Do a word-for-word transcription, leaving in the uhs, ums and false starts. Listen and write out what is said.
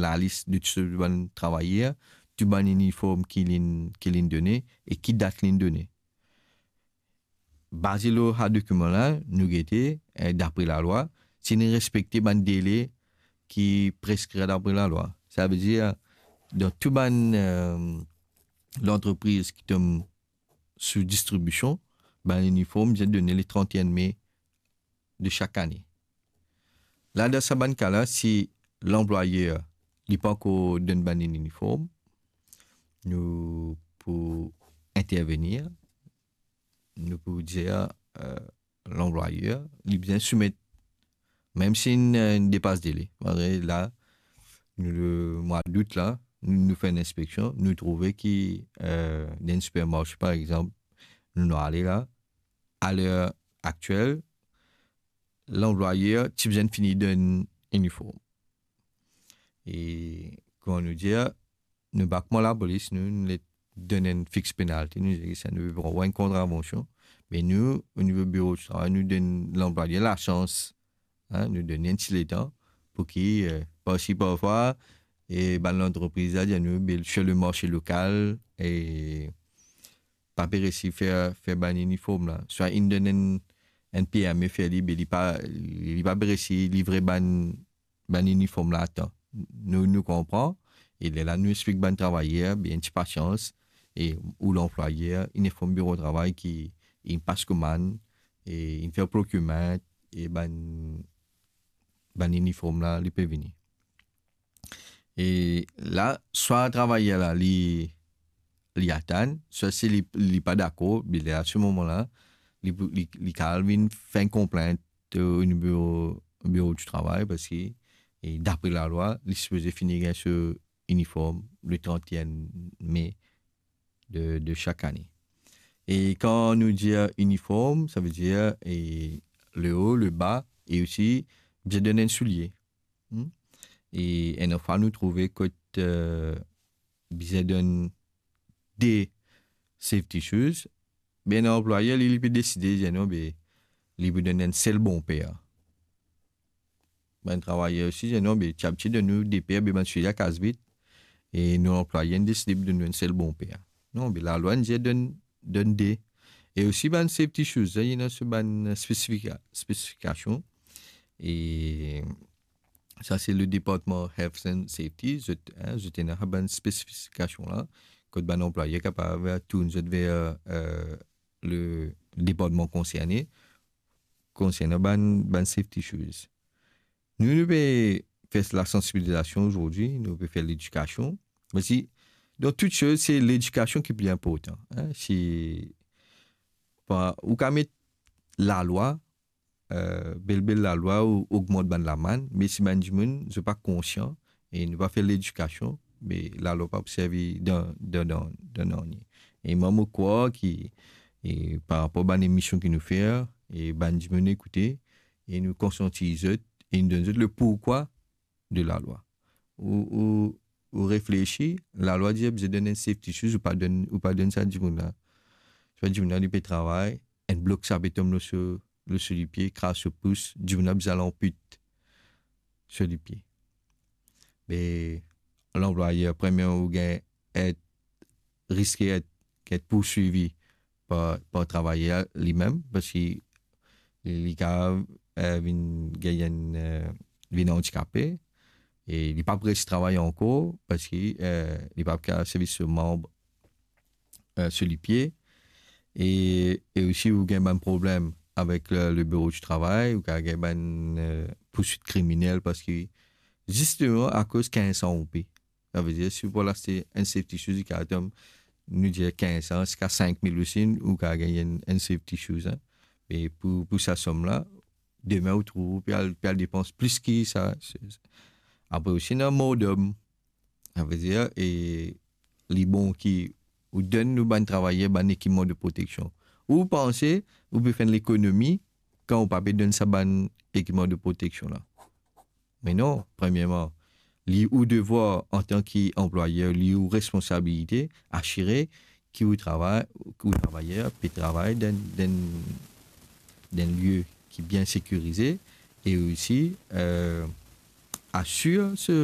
lalis de tou bann travayer, tou bann iniform ki linn, ki linn done e ki dat linn done. Baze lor sa dokiman la, nou gete, eh, dapre lalwa, si nou respekte bann dele ki preskri dapre lalwa. Savedir, dan tou bann, eh, lantrepriz ki tom sou distribision, bann iniform bizin done le trente et un me de sak ane. La, dan sa bann ka la, si lanplwayer li pa ankor donn bann iniform, nou pou intervenir, nou pou dir, eh, lanplwayer, li bizin soumet, mem si inn, eh, inn depas dele. Malgre la, nou, le mwa dout la, nou, nou fer enn inspeksion, nou trouve ki, eh, dan enn sipermarse, par exanp, nou, nou ale la, a ler aktiel, lanplwayer ti bizin fini donn iniform. E kouma nou dir, nou pa kouma lapolis, nou, nou le donn enn fix penalti, nou dir sa, nou pran enn kontravansion. Me nou, o nivo biro di travay, nou donn lanplwayer lasans, hein, nou donn enn ti letan pou ki, eh, parski parfwa, e bann lantrepriz la dir nou, be, sir le marse lokal, e pa pe resi fer, fer bann iniform la. Swa inn donn enn, enn permi fer li, be li pa, li pa pe resi livre bann, bann iniform la atan. Nou, nou konpran, e lerla nou explik bann travayer, be enn ti pasians, e ou lanplwayer, inn inform biro travay ki inn pas komann, e inn fer procurement, e bann, bann iniform la, li pe vini. E la, swa travayer la, li, li atann, swa si li, li pa dakor, be la, a se moman la, li pou, li, li kapav vinn fer enn konplint o nivo biro di travay, parski, e dapre lalwa, li sipoze fini gagn so iniform le trente et un me de, de sak ane. E kan nou dir iniform, savedir, e le o, le ba, e osi, bizin donn enn soulie. Hmm? E enn fwa nou trouve kot, eh, bizin donn de safety shoes, be lanplwayer, li, li pe deside, dir non, be, li pou donn enn sel bon per. Bann travayer osi dir non, be, ti abitie donn nou de per, be bann soulie la kas vit, e nou lanplwayer inn deside pou donn nou enn sel bon per. Non, be lalwa inn dir donn, donn de. E osi bann safety shoes, sa, ena so bann spesifika-, spesifikasion. E sa, se le departman Health and Safety, zot, hein, zot ena sa bann spesifikasion la, kot bann lanplwayer kapav tourn zot ver, eh, le departman konserne, konserne bann, bann safety shoes. Nou, nou pe fer lasansibilizasion azordi, nou pe fer ledikasion. Me si, dan tou soz, se ledikasion ki pli inportan, hein. Si pa, ou kapav met lalwa, eh, bel, bel lalwa, ou ogmant bann lamann, me si bann dimoun, zot pa konsian, e nou pa fer ledikasion, be lalwa pa pou servi dan, dan, dan, dan nanye. E mwa, mo krwar ki, e par rapor bann emision ki nou fer, e bann dimoun ekoute, e nou konsiantiz zot, e nou donn zot le pourkwa de lalwa. Ou, ou, ou reflesi, lalwa dir bizin donn enn safety shoes, ou pa donn, ou pa donn sa dimoun la. Sa dimoun la, li pe travay, enn blok sa pe tom lor so, lor so lipie, kraz so pous, dimoun la bizin al anpit so lipie. Me lanplwayer, premie, ou gagn et, riske et, et pourswivi par, par travayer limem, parski li, li kapav, eh, vinn gagn enn, eh, vinn andikape, e li pa pou res travay ankor, parski, eh, li pa pou kapav servi so manb, eh, so lipie. E, e osi, ou gagn bann problem avek le, le biro di travay, ou kapav gagn bann, eh, pourswit kriminel, parski zisteman akoz kinz san roupi. Savedir, si ou pou al aste enn safety shoes, li kapav tom, nou dir kinz san, ziska sink mil osi, ou kapav gagn enn, enn safety shoes, hein. E pou, pou sa som la, demin ou trouv ou pe al, pe al depans plis ki sa. Se, apre osi, ena mordom. Savedir, e li bon ki ou donn nou bann travayer bann ekipman de proteksion. Ou panse ou pe fer enn lekonomi kan ou pa pe donn sa bann ekipman de proteksion la? Me non, premierman, li ou devwar antan ki anplwayer, li ou responsabilite, asire ki ou travay, ki ou travayer pe travay dan, dan, dan enn lie ki bien sekirize e osi, eh, asir so,